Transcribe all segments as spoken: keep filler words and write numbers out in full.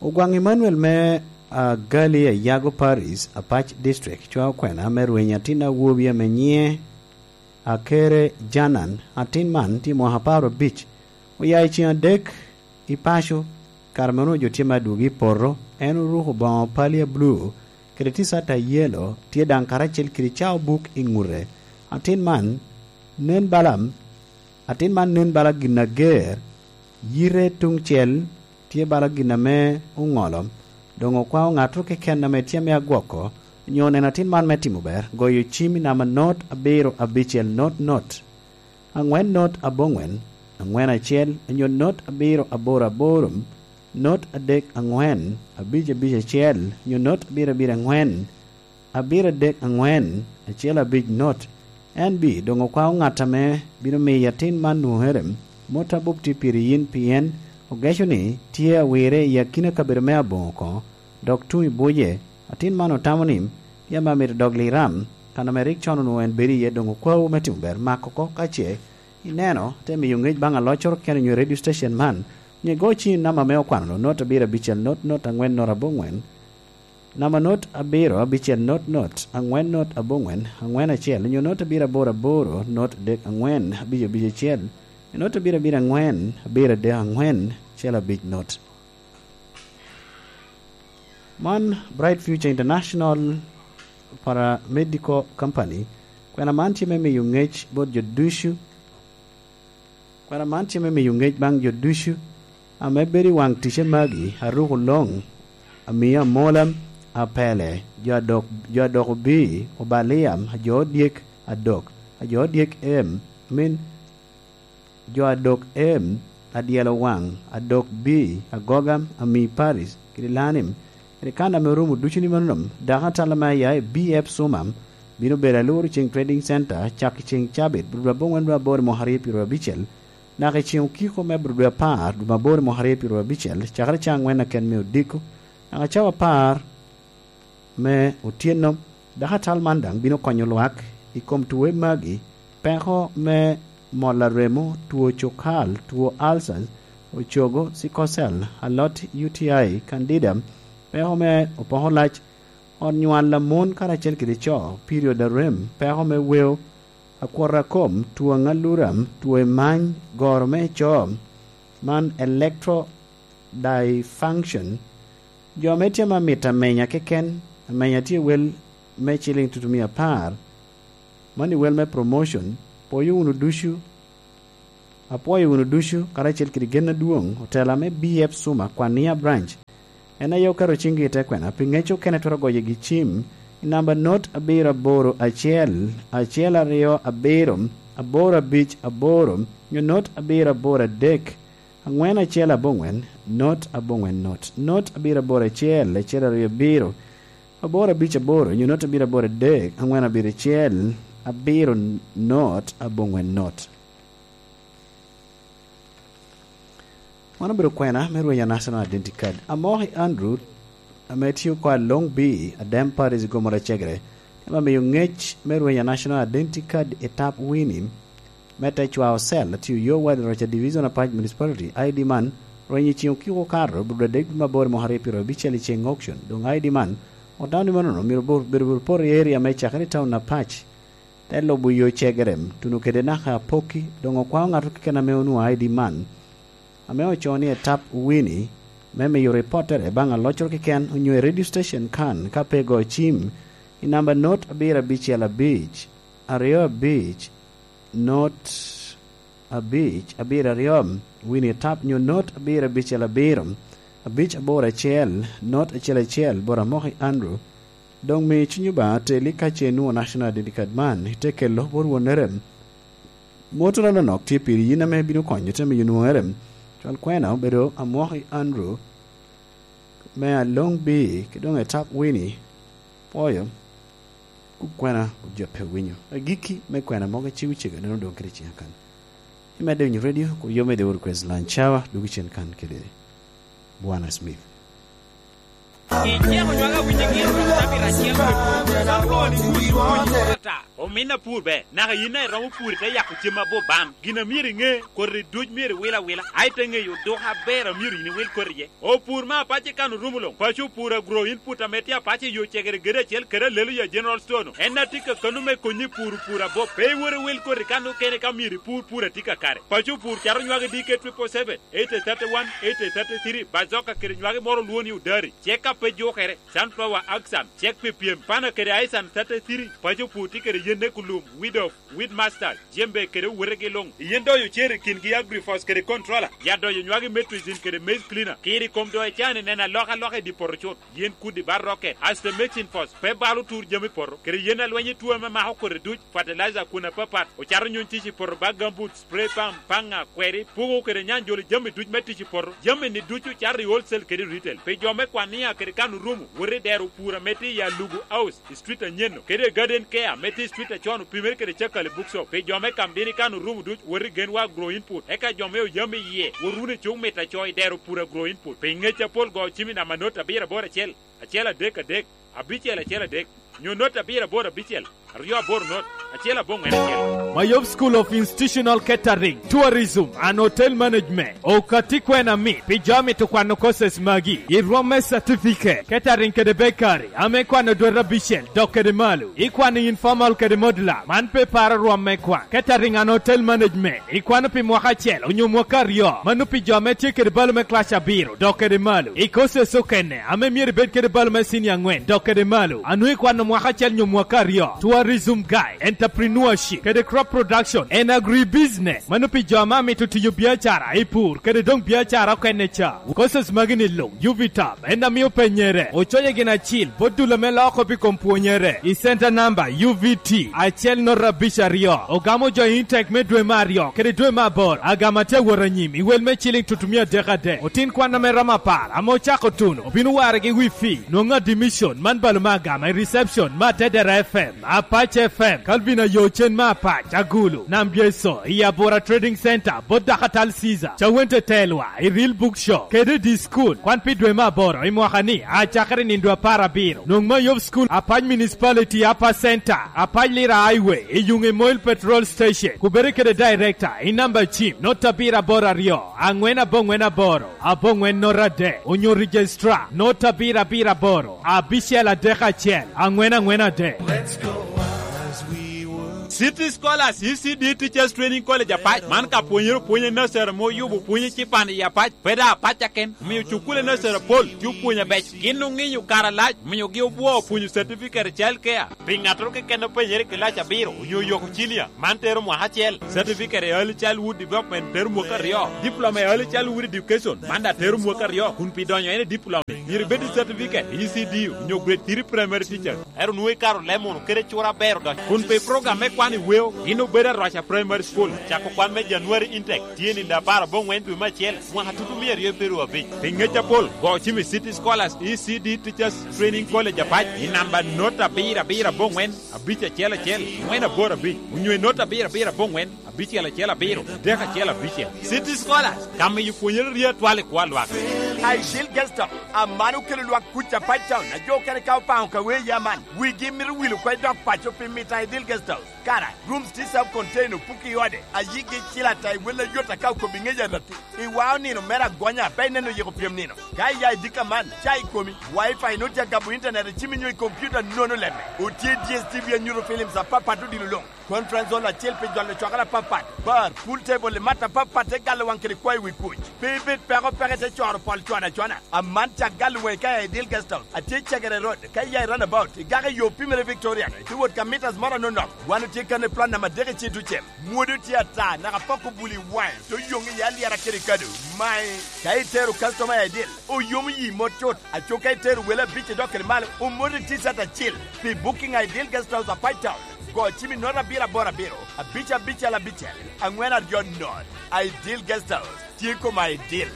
Ogwaŋ Emmanuel me Agali Ayago Paris, Apac District, cwao kwena me rweny atin awobi ame nyiŋe Akere Janan. Atin man tye mwaka apar abic. Oya i ceŋ adek i paco, kare meno jo tye me adwogi i poto. En oruko boŋo palia blu kede ticat a yelo, tye daŋ karacel kede cao buk i ŋute. Atin man nen bala, atin man nen bala gin ager, yite tuŋ cel tye bala gin ame oŋolo. Doŋ okwao ŋatto keken ame tye ame agwoko, onyo oneno atin man me timo ber, goyo cim i namba not abiro abicel not not, aŋwen not aboŋwen, aŋwen acel, onyo not abiro aboro aboro, not adek aŋwen, abic abic acel, onyo not abiro abiro aŋwen, abiro adek aŋwen, acel abic not. En bi doŋ okwao ŋat ame bino miyo atin man nwoŋere. Mot abup tye piri yin, pien ogeco ni tye awire i akina kabedo me aboŋo oko, dok tuŋ i buce. Atin man otamo ni, yam amito dok Liram, kan ame rik con onwoŋo en bedo iye, doŋ okwao me timo ber, mak oko ka ce ineno, te miyo ŋec baŋ aloccoro keken onyo radio station man, onyo igo ciŋ i namba ame okwano-nu, not abiro abicel not not aŋwen not aboŋwen, namba not abiro abicel not not aŋwen not aboŋwen aŋwen acel, onyo not abiro aboro aboro not adek aŋwen abic abic acel, onyo not abiro abiro aŋwen abiro adek aŋwen acel abic not. Man Bright Future International Paramedical Company. Kwena man tye me miyo ŋec bot jo ducu. Kwena man tye me miyo ŋec baŋ jo ducu ame bedo i waŋ ticce magi, aruko loŋ, amio amola, apele, jo adok, jo adok obii, obalia, ajo odyek, adok, ajo odyek em, min, jo adok em, adyelo waŋ, adok bii, agoga, ami Paris, kede Lanim, kede kan ame orumo ducu ni manono, dako atal ame aya i B F Suma, bino bedo aluru ceŋ Trading Center, cak i ceŋ cabit, bur dwe aboŋwen dwe aboro mwaka aryo pyero abicel, naka i ceŋ okiko me bur dwe apar, dwe aboro mwaka aryo pyero abicel, cakere ca aŋwen aken me odiko, naka cawa apar me otyeno. Dako atal man daŋ bino konyo lwak i kom tuwe magi, peko me mol a remo, two cukal, two ulcers, ocogo, sickle cell, alot, U T I, candida, peko me opoko lac, ot nywal a mon karacel kede co, period a rem, peko me weo, akwot a kom, two aŋalura, two emany, goro me co, man electro dysfunction, jo ame tye ame amito amenya keken, amenya tye wel me ciliŋ tutumia apar, mano i wel me promotion, pwoyo wunu ducu, apwoyo wunu ducu, karacel kede gen adwoŋ, otela me B F Suma, Kwania Branch, en aye oketo ciŋgi i te kwena, pi ŋec okene twero goyo gi cim, i namba not abiro aboro acel, acel aryo abiro, aboro abic aboro, nyo not abiro aboro adek, aŋwen acel aboŋwen, not aboŋwen not, not abiro aboro acel, acel aryo abiro, aboro abic aboro, nyo not abiro aboro adek, aŋwen abiro acel, abiro not aboŋwen not. Wan obedo kwena me rwenya National Identity Card. Amoki Andrew, ame tye oko a Long Bi, Adem Paris, Gomora Cegere, ema miyo ŋec me rwenya National Identity Card i tap wini, me te cwao cell, atiyo yo wadi roca Division Apac Municipality, I D man, rwenyo i ceŋ okiko okato, bur dwe adek dwe me aboro mwaka aryo pyero abicel i ceŋ auction. Doŋ I D man, otamo ni manono myero bur-, bedo bur poto i area me cakere i town Apac, te lubo yo Cegere, tuno kede naka Apoki, doŋ okwao ŋato keken ame onwoŋo I D man, ame ocoo ni etap wini, me miyo ripottere baŋ aloccoro keken onyo i radio station kan ka pe igoyo cim i namba not abiro abicel abic, aryo abic, not abic, abiro aryo, wini etap nyo not abiro abicel abiro, abic aboro acel, not acel acel, bot Amoki Andrew. Doŋ mi cuny Obaŋa teli ka ce inwoŋo National Identity Card man, ite kelo bot wonnere. Mot anonok tye piri yin ame bino konyo te miyo nwoŋere. Cwal kwena obedo Amoki Andrew me Along Bi, ki doŋ etap wini, pwoyo, kub kwena ojape winyo. Agikki me kwena mogo iciwo cege neno doŋ kede ciŋa kan. Imedde winyo radio, kur yo mede wot request lunch hour, dugi cen kan kede Bwana Smith. Ityeko nywaka winyo gin, tabira acel, ka lwoni kuc, kuc, ata. Omin apur ber, naka yin a iromo pur i te yako cem abup bam. Gin a myero iŋe, koti duc myero iwil awila, a i te ŋeyo duka aber a myero yin iwil koti iye. Opur me apac i kan orumo luŋ, paco opur agro input ame tye apac i yo cegere gede acel kede alelo ya General Store-nu. En a tye ka kano me konyi pur pur abup. Pe iwot iwil koti kan okene ka myero ipur pur a tye kakare. Paco opur cato nywagi D K triple seven, eight thirty-one, eight thirty-three, bazoka kede nywagi moro olwongo ni odari. Cek a pe jukere, sunflower axan, cek pi pyem, pana kede aisan thirty-three, paco opur tye kede yen ne kulum, weed of, weed master, jembe kede owetegi luŋ. Yen doyo cer i kingi agrifos kede controller, ya doyo nywagi metricin kede maize cleaner. Kiri kom doyo can i neno alokaloka i di poto cut. Yen kudi ba rocket, aste mixing force, pe balo tur jami poto, kede yen alweny i tuo ame mako kodi duc, fertilizer kun apapat, ocato nyuny tic i poto ba gambut, spray pump, paŋa, kweri, pugo kede nyanjolo jami duc me tic i poto. Jami ni ducu cato i wholesale kede retail. Pi jo me kwan nia kede kan orumo, wot i dero pur ame tye i Alugu House, i street anyeno, kede i Garden Care ame tye i street acon opimere kede Cakali Bookshop. Pi jo me kam dini kan orumo duc, wot i Genwa Agro Input. Eka jo me oyam i yie, wot wunu i cuk mit aco i dero pur Agro Input. Pi ŋec apol go cim i namba not abiro aboro acel, acel adek adek, abicel acel adek, nyo not abiro aboro abicel, aryo aboro not, acel aboŋwen acel. Mayom School of Institutional Catering, Tourism and Hotel Management. Okati kwena mit pi jo a mito kwano courses magi. I rwom me certificate, catering kede bakery, ame kwano dwete abicel dok kede malo. Ikwano informal kede modular, man pe paro rwom me kwan. Catering and Hotel Management, ikwano pi mwaka acel onyo mwaka aryo, mano pi jo ame tye kede balo me class abiro dok kede malo. I courses okene, ame myero ibed kede balo me senior angwen dok kede malo, a nwoŋo ikwano mwaka acel nyo mwaka aryo, tourism guide, entrepreneurship, kede crop production and agribusiness. Mano pi jo ame amito tiyo biacara i pur kede doŋ biacara okene ca. Courses magi ni luŋ, U V top, en a mio penyere, oconye gin acil, bot dul ame loko pi kom pwonyere, i center number U V T acel not abic aryo. Ogamo jo i Intec me dwe me aryo kede dwe me aboro. Agama tye awot anyim i wel me ciling tutumia adek adek. Otin kwan ame romo apar ame ocako tuno obino waregi wi fee. Nwoŋo admission man balo me agama i reception me Atedera F M, Apac F M, Calvin Ayo Cen me Apac, Agulu, Nam Byeco, i Abura Trading Center, bot Dakatal Caesar, Cawente Telwa, i Real Book Shop, kede i di school. Kwan pi dwe me aboro i mwaka ni, acakere nindo apar abiro. Nwoŋo Mayom School, Apac Municipality, Upper Center, Apac Lira Highway, i yuŋ i Moil Petrol Station, kubere kede director, i namba cim, not abiro aboro aryo, angwen aboŋwen aboro, aboŋwen not adek, onyo registrar, not abiro abiro aboro, abicel adek acel, angwen angwen adek. City Scholars E C D Teachers Training College Apac, man ka pwonyere opwonye nursery ma oyubo pwonye cipan i Apac, pe da Apac aken, omiyo cukule nursery apol tye opwonyo abec. Gin oŋinyo kare alac, omiogi obwo opwonyo certificate i child care. Pi ŋattoro keken openyere i kilac abiro onyo oyoko cinia, man tero mwaka acel. Certificate i Early Childhood Development tero mwaka aryo. Diploma i Early Childhood Education, man daŋ tero mwaka aryo. Kun pi donyo en i diploma, myero ibed i certificate i E C D onyo grade three primary teacher. Ero nwoŋo ikaro leb munu kede cura aber odonyo. Kun pi program me kwan i weo, gin obedo Arwaca Primary School, cako kwan me January intake, tye nindo apar aboŋwen dwe me acel, mwaka tutu mia aryo pyeraryo abic. Pi ŋec apol, go cim i City Scholars E C D Teachers Training College Apac i namba not abiro abiro aboŋwen, abic acel acel, ŋwen aboro abic, onyo i not abiro abiro aboŋwen, abicel acel abiro, adek acel abicel. City Scholars, ka miyo pwonyere rye atwal i kwo a lwak. Ideal Guest House, aman okelo lwak kuc Apac Town, a jo okene ka opaŋo ka wee ya man, wigi mito wil oko i dok paco pi mito Ideal Guest House. Kara, rooms tye self contained, opuko i ode, a yigi cil ata i wel ayot aka okobo i ŋec arati. I wao nino mere agonya, pe ineno yiko pyem nino. Ka iya i dika man, ca i komi, Wi-Fi nut ya gabo internet i cimi nyo i computer nono lemme. Otye D S T V anyuto films apapat odilo luŋ. Conference hall acel pi jolo cwakere apapat, bar, pool table i mat apapat te galo waŋ kede kwayo wi kuc. Pe ibed peko peke te coro pol cwana cwana. Aman cak galo waŋi ka i Ideal Guest House. Atye Cegere Road, ka iya i roundabout, igako i yo pimere Victoria, ite wot ka meters moro anonok. Wan otye kan i plan namba adek i Cedducem. Mwodo tye ata, naka pok obuli waŋe, to yoŋ i alyera kede kado. Mae, ka itero customer i Ideal, oyomo yi mot cut. Aco ka itero wele abic idok kede malo, omoti T-shirt acil. Pi booking a Ideal Guest House Apac Town, go cim i not abiro aboro abiro, abic abicel abicel, angwen aryo not. Ideal Guest House, tye kom Ideal.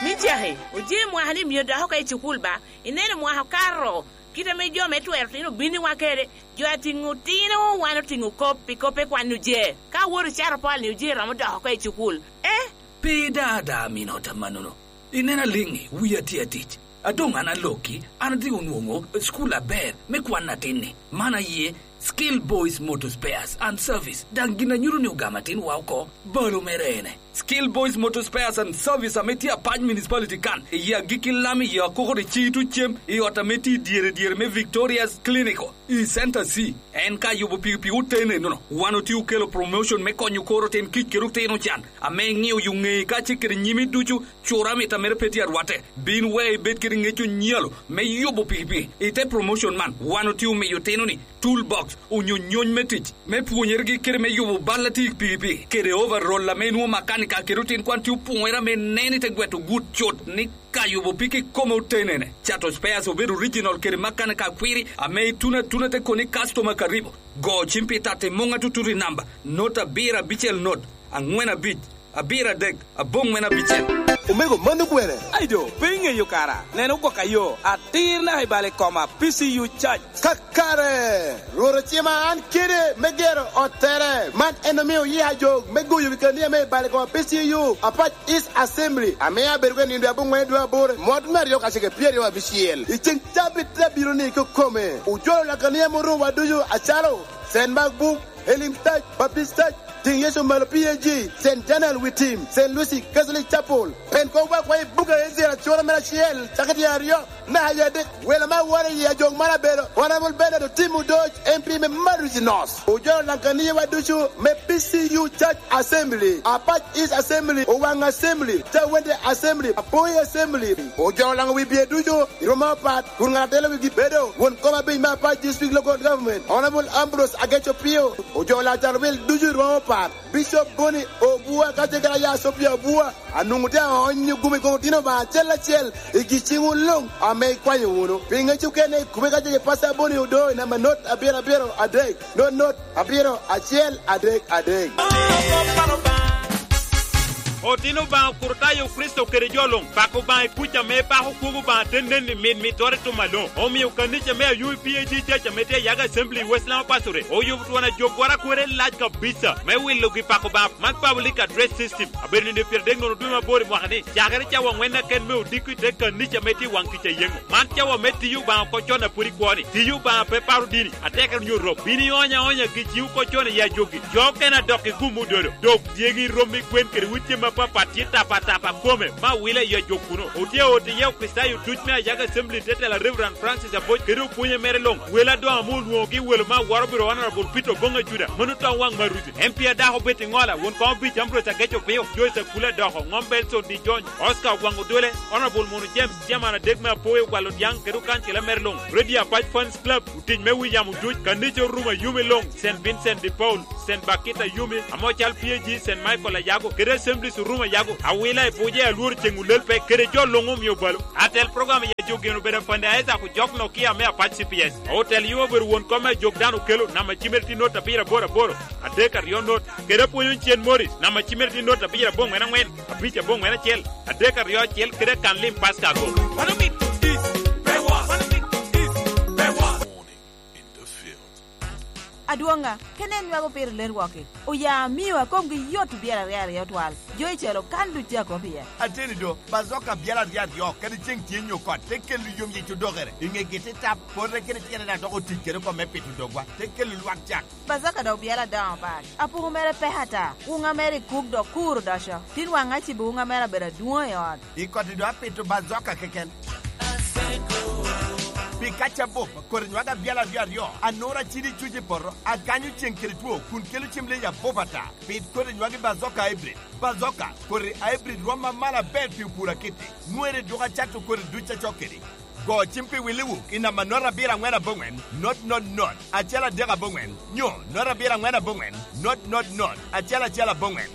Ni cake, oje mwaka ni mio dok oko i cukul ba? Ineno mwaka okato, kit ame jo me twero tino obiniwa kede, jo atiŋo tino wan otiŋo kop pi kop pe kwan oje. Ka awoto cato pol ni oje romo dok oko i cukul. Eh? Pe da da mino ta manono. Ineno aliŋi, wia tye atic. A doŋ an alokki, an adhi onwoŋo cukul aber me kwan atin-ni. Man aye, Skill Boys Motor Spares and Service, daŋ gin a nyuto ni ogamo atinwa oko. Balo mere ene. Skill Boys Motor Spares and Service ame tye Apac Municipality kan, i yie agikki Lam, i yie akoko de Citu Cem, i ot ame tye i dyere dyere me Victoria's Clinical, i Center C. En ka yubo pikipiki oten enono, wan otye okelo promotion me konyo kor otin kic kede otino can, ame iŋeo yo ŋeyi kacel kede nyimi ducu. Cura mit a mere pe tye arwatte. Bin we ibed kede ŋec onyalo me yubo pikipiki. I te promotion man, wan otye omiyo otino-ni toolbox, onyo nyony me tic, me pwonyeregi kede me yubo bal a tye i pikipiki, kede overall ame nwoŋo makanika kede otin kwan tye opoŋere ame nen i te gweto gut cut ni ka yubo piki kome otenene. Cato spares obed original kede makanika akwiri ame ituno atuna te koni customer karibu. Go cim pi tati muŋ atutut i namba, not abiro abicel not, aŋwen abic, abiro adek, aboŋwen abicel. Omego, mano gwene. Ai do, pe iŋeyo kara? Nen ogwok ayo, atir naka i bal i koma, P C U Church. Kakare, Rwot ocima an kede me gero ottere. Man en omio yia jog me goyo wi kania me i bal i koma P C U, Apac East Assembly, ame abedo ka nindo aboŋwen dwe aboro, mot me aryo kacel kede pyeraryo abicel. I ceŋ cabit te abiro ni kikome, ojolo lakania morowa ducu acalo Saint Mark Book, Elim Church, Baptist Church, Tiŋ Yecu Malo P A G, Saint Daniel Witim, Saint Lucy Catholic Chapel, Pentecost Worldwide Buga Israel acura mere acel, cakere tye aryo, naka i adek, welo me awora i ajok man abedo Honorable Bernard Otim Odoc, M P me Madusi North. Ojolo daŋ kaniyawa ducu me P C U Church Assembly, Apac East Assembly, Owaŋ Assembly, Cawende Assembly, Apoi Assembly. Ojolo daŋ wi bye ducu i rwom apat, kun ŋat atelo wigi bedo won kom abic me Apac District Local Government, Honorable Ambrose Ageco Pio. Ojolo daŋ cal wil ducu i rwom apat, Bishop Boni Obua kacel kede aya Sophia Obua, anwoŋo tye aonyo gumi i kom otino Obaŋa acel acel i gi ciŋwu luŋ ame ikwanyo wunu. Pi ŋec okene, ikube kacel kede Pastor Boni Odoi, namba not abiro abiro adek, not not abiro acel adek adek. Otino Obaŋa Kurtayo Kricito kede jo luŋ, pako Obaŋa i kuc ame pako kwogo Obaŋa te nen i mit mittere i tum aloŋ. Omio kanica me Ayubi P A G Church ame tye i Yaga Assembly i West Nile Pastorate oyubo twon ajog warakwere lac kabisa me wilogi pako Obaŋa. Man Public Address System abedo nino pyeradek nono dwe me aboro i mwaka ni, cakere cawa aŋwen aken me odiko i te kanica ame tye i waŋ kica yeŋo. Man cawa me tiyo Obaŋa oko con a pwod ikwo ni, tiyo Obaŋa pe paro dini, atekere onyo rok. Bin ionyo aonya gi ciŋ oko con i ajog-gi. Jo okene adok i gum ododo, dok dyegi, rommi, gwen kede ucem apapat tye tapa tapa kome, me awila i ajog kuno. Otye ot iye Okricitayo duc me Ayaga Assembly, te tela Reverend Francis Aboc kede opwonye mere luŋ. Welo adoŋo ame olwoŋogi welo me awora obiro Honorable Peter Oboŋa Juda, mano toŋ waŋ Maruti. M P a dako Betty Ŋola, won koŋ abic Ambrose Ageco Pio, Joyce Akula Doko, Ŋom Belson Di Jony, Oscar Ogwaŋ Odole, Honorable Mono James, Chairman adek me Apoyo Gwalo Diaŋ kede okancila mere luŋ, Radio Apac Fans Club, otic me wi yamo duc, kanica Orumo Ayumi luŋ, Saint Vincent de Paul, Saint Bakita Ayumi, ame ocal P A G, Saint Michael Ayago, kede Assemblies Orumo Ayago, awila i buce, alworo ceŋ olel pe, kede jo luŋ omio balo. Atel program i ajog gin obedo Afande Isaac Ojok Nokia me Apac C P S. Otel yub obedo won kom me ajog dano okelo, namba cimere tye not abiro aboro aboro, adek aryo not, kede apwonyo Cen Morris, namba cimere tye not abiro aboŋwen aŋwen, abic aboŋwen acel, adek aryo acel, kede akan lim Pastor Agom. Mano mit is pe wa. Mano mit is pe wa. Adwoŋa, kene en nwago pire ler wok-ki. Oya amio akomgi yot i byel aryo aryo twal. Jo i calo kan duc tye akop iye. Ateni do, Bazoka byel aryo aryo, kadi ceŋ tye nyo kot, te kelo yom yec odokere. I ŋegi te tap, pote kede tyene daŋ dok otic kede oko me pito dogwa, te kelo lwak cak. Bazoka dok byel adoŋo bal. Apuku mere pek ata. Wuŋa mere i kuk dok kur odoco. Tin waŋ acibo wuŋa mere abedo adwoŋ i ot. I koti do apito Bazoka keken. Pi kaca bup, kodi nywag abyal aryo aryo, anura cidi cuc i poto, aganyo ceŋ kede two, kun kelo cem leyi abup ata. Pit kodi nywagi Bazoka Hybrid. Bazoka, kodi Hybrid rwom amalo aber pi opur akiti. Nwere duk acato kodi duc acok kedi. Go cim pi wili wuk i namba not abiro aŋwen aboŋwen, not not not, acel adek aboŋwen, nyo not abiro aŋwen aboŋwen, not not not, acel acel aboŋwen.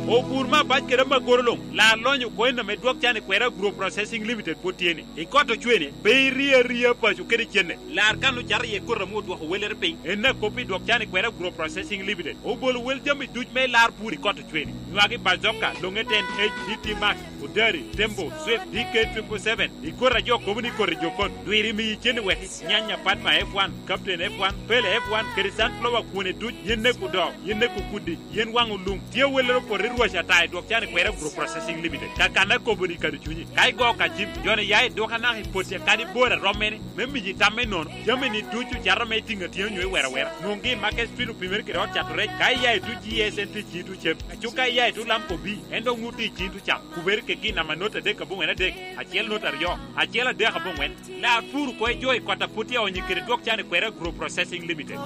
Opur me abac kede amagoro luŋ, lar lonyo koin ame dwok can i kwera Agro Processing Limited pwod tye ni. I kot ocwene, pe irie aria paco kede cenne. Lar kan ocato iye koti ame odwoko wellere piny, en akop i dwok can i kwera Agro Processing Limited. Obolo wel jami duc me lar pur i kot ocwene. Nywagi Bazoka, Longeten, H D T Max, Odari, Tembo, Swift, D K triple seven, i koti a jo kobo ni koti jokon. Dwiri miyi cen i weki, nyanya Padma F one, Captain F one, Pele F one, kede Sunflower kwone duc, yen nek odoo, yen nek okuddi, yen waŋ olum. Tye awellere opoto i Waca ta i dwok can i kwera Group Processing Limited. Ka kan akobo ni kadi cunyi. Ka igo ka jim, joni ya i dwok anaka i poti kadi bor a romme ni, me miji tam me nono. Jami ni ducu cato me tinga tinga nyo i wera wera. Nwongi i Market Street opimere kede ot cato rec. Ka iya i tu G S N T G tu cem. Acu ka iya i tu Lamco B, en dok nut i cin tu cam. Kubere ke gin ama not adek aboŋwen adek, acel not aryo, acel adek aboŋwen. Lar puru ko i jo i kota puti aonyi kede dwok can i kwera Group Processing Limited.